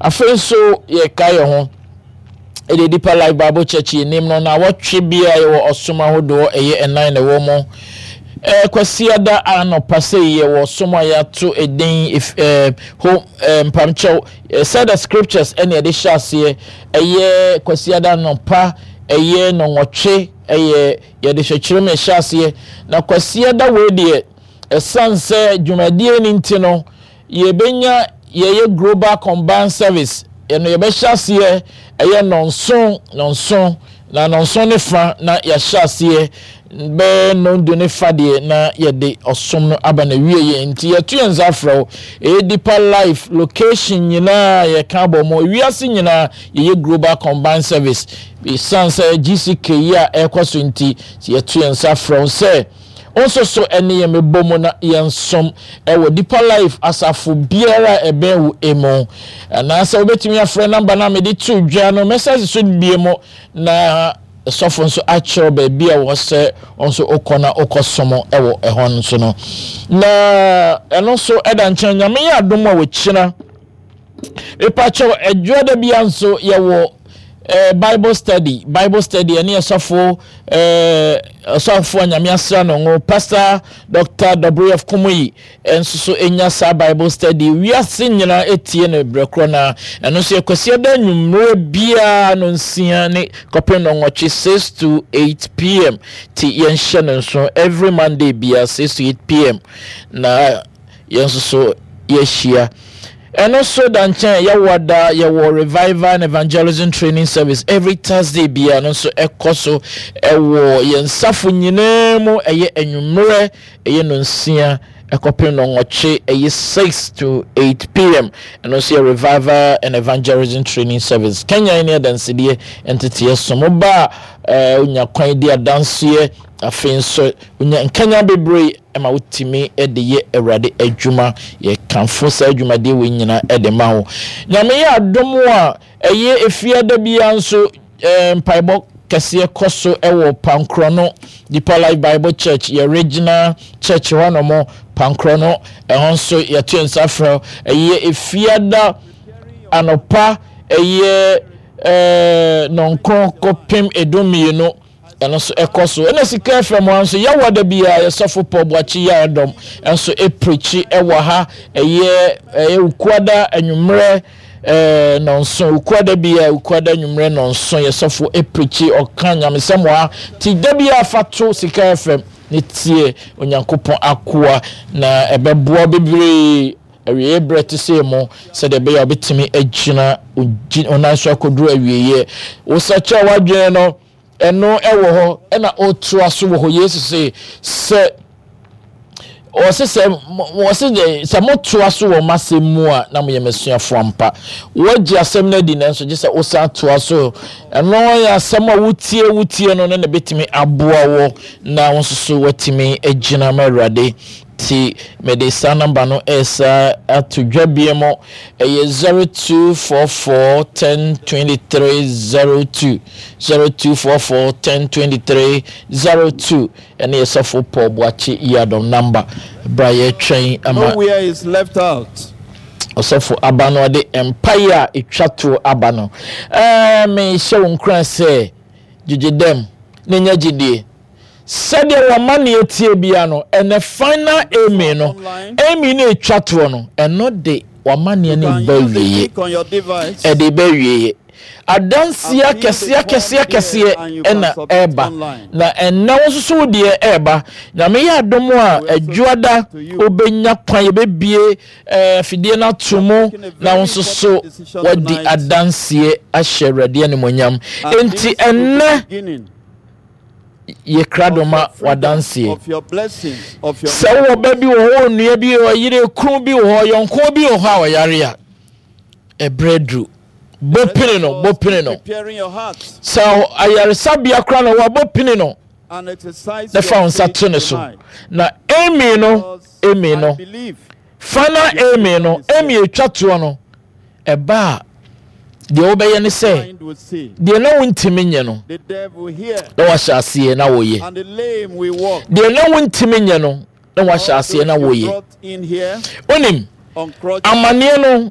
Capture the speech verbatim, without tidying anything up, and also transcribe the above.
Afei nso yɛka yɛn ho ɛde Deeper Life Bible Church yɛnim no na wɔtwe bia yɛwɔ ɔsom ahodoɔ ɛyɛ ɛnan na ɛwɔ mu. ɛɛ Kwasiada anɔpa sɛ yɛwɔ ɔsom a yɛato edin ɛɛ ho ɛɛ mpamkyɛw ɛɛ the scriptures ɛna yɛde hyɛ aseɛ. Ɛyɛ Kwasiada anɔpa, ɛyɛ nɔnwɔtwe, ɛyɛ yɛde hwɛkyerɛ mu ɛhyɛ aseɛ. Na Kwasiada wei deɛ, ɛsan sɛ dwumadie ne nti no, yɛbɛnya yɛyɛ global combined service. Ɛno yɛbɛhyɛ aseɛ ɛyɛ nɔnson nɔnson na nɔnson ne fa, na yɛahyɛ aseɛ bɛyɛ nɔndu ne fa deɛ na yɛde ɔsom no aba na wie yɛ. Nti yɛto yɛn nsa afrɛ wo. Ɛyɛ Deeper Life location nyinaa yɛka abɔ mu, ewiase nyinaa yɛyɛ global combined service. Ɛsiane sɛ G C K yi a ɛrekɔ so nti, yɛto yɛn nsa afrɛ wo sɛ nso so ɛne yɛn mebɔ mu na yɛnsom ɛwɔ Deeper Life asafo biara a ɛbɛn wo emu, anaasɛ wobɛtumi afrɛ number no a mede to dwa no. Mɛsase so bie mu na sɔfo nso akyerɛw baabi a wɔ sɛ nso wokɔ na wokɔ som ɛwɔ ɛhɔ nso no. Na ɛno nso ɛda nkyɛn. Nyame yɛ adom a, wɔkyina mepakyɛw adwuada bia nso yɛwɔ eh, Bible study. Bible study ɛne ɛsɔfo eh, ɔsɔfo a Nyame asra no ngo, Pastor Doctor W F Kumuyi, ɛnso so ɛnya saa Bible study. Wiase nyinaa ɛtie no berɛ korɔ. Na ɛno nso yɛ Kwasiada nnwummerɛ biara no nsia ne kɔpem no nwɔtwe, six to eight p m. Ti yɛnhyɛ no nso, every Monday biara six to eight p m na yɛn nso so yɛahyia. Ɛno nso da nkyɛn, yɛwɔ da yɛwɔ revival and evangelism training service every Thursday biara no nso ɛkɔ so ɛwɔ yɛn nsafo nyinaa mu. Ɛyɛ anwummerɛ, ɛyɛ no nsia ɛkɔpem no nwɔtwe, ɛyɛ six to eight p m. Ɛno nso yɛ revival and evangelism training service. Kenya ne adansedeɛ nteteɛ som ba a ɛɛ onya kwan di adanseɛ. Afei nso onya nkanya bebree ɛma wotumi de yɛ Awurade adwuma. Yɛkamfo saa adwumadeɛ wei nyinaa de ma wo. Nyame yɛ adom a, ɛyɛ efiada biara nso ɛɛ mpaebɔ kɛseɛ kɔ so ɛwɔ Pankorɔ no Deeper Life Bible Church, yɛ regional church hɔ nom, Pankorɔ no. Ɛhɔ nso yɛto nsa frɛ. Ɛyɛ efiada anɔpa, ɛyɛ ɛɛ nɔnkron kɔpem edu mmienu, ɛno nso ɛkɔ so. Ɛna Sika F M ha nso, yɛwɔ da biara yɛsɔfo Paul Boakye yɛ ɔdɔm nso ɛpirikyi ɛwɔ ha. ɛyɛ ɛyɛ Ukuada anwummerɛ ɛɛ nɔnson, Ukuada biara, Ukuada anwummerɛ nɔnson, yɛsɔfo ɛpirikyi, ɔka nyamesɛm wɔ ha. Ti da biara fa to Sika F M ne tie Onyankopɔn akoa na ɛbɛboa bebree awieɛ berɛ te sɛ mu, sɛdeɛ ɛbɛyɛ a wobɛtumi agyina ɔnan so akɔduru awieɛ. Wosakyɛ w'adwene no, ɛno ɛwɔ hɔ, ɛna ɔtoa so wɔ hɔ. Yesu se sɛ ɔse sɛ ɔse de sɛ motoa so wɔ m'asɛm mu a, na moyɛ m'asuafoɔ ampa. Wɔagye asɛm no adi, nanso gye sɛ wosan toa so. Ɛno yɛ asɛm a wotie wotie no no na ɛbɛtumi aboa wɔ na wo nso so woatumi agyina ma Awurade. Ti mede saa number no ɛsa ato dwa bie mu. Ɛyɛ zero two four four ten twenty-three zero two, zero two four four ten twenty-three zero two. Ɛne yɛ sɔfo Paul Boakye Yiadom number. Bra, yɛtwɛn ama Nowhere is left out. ɔsɔfo aba no, ɔde mpaeɛ a ɛtwa toɔ aba no. ɛɛ mehyɛ wo nkuran sɛ gyegye dɛm na nya gyidie sɛdeɛ wɔma neɛ tie bia no. Ɛnɛ final amen no, amen no ɛtwa toɔ no, ɛno de wama neɛ no ba wieɛ. Ɛde ba wieɛ. Adanseɛ akɛseɛ akɛseɛ akɛseɛ ɛna ɛreba, na ɛnɛ wo nso so wo deɛ ɛreba. Nyame yɛ adom a, adwuada wobɛnya kwan, yɛbɛbie ɛɛ fidie no ato mu na wo nso so wadi adanseɛ ahyɛ Awurade animonyam. Enti ɛnɛ yɛ krado ma wadanseɛ. Sɛ wowɔ ba bi wɔ hɔ, onua bi wɔ yere kunu bi wɔ hɔ, yɔnko bi wɔ hɔ a ɔyare a, ɛbrɛ duru, bɔ pini no, bɔ pini no. Sɛ ayaresabea kora na wɔabɔ pini no na fa wo nsa to ne so na amen no, amen no, final amen no, amen etwa toɔ no ɛba a, deɛ wobɛyɛ ne sɛ deɛ na wontumi nyɛ no na wahyɛ aseɛ na woyɛ. Deɛ na wontumi nyɛ no na wahyɛ aseɛ na woyɛ. Onim amanneɛ no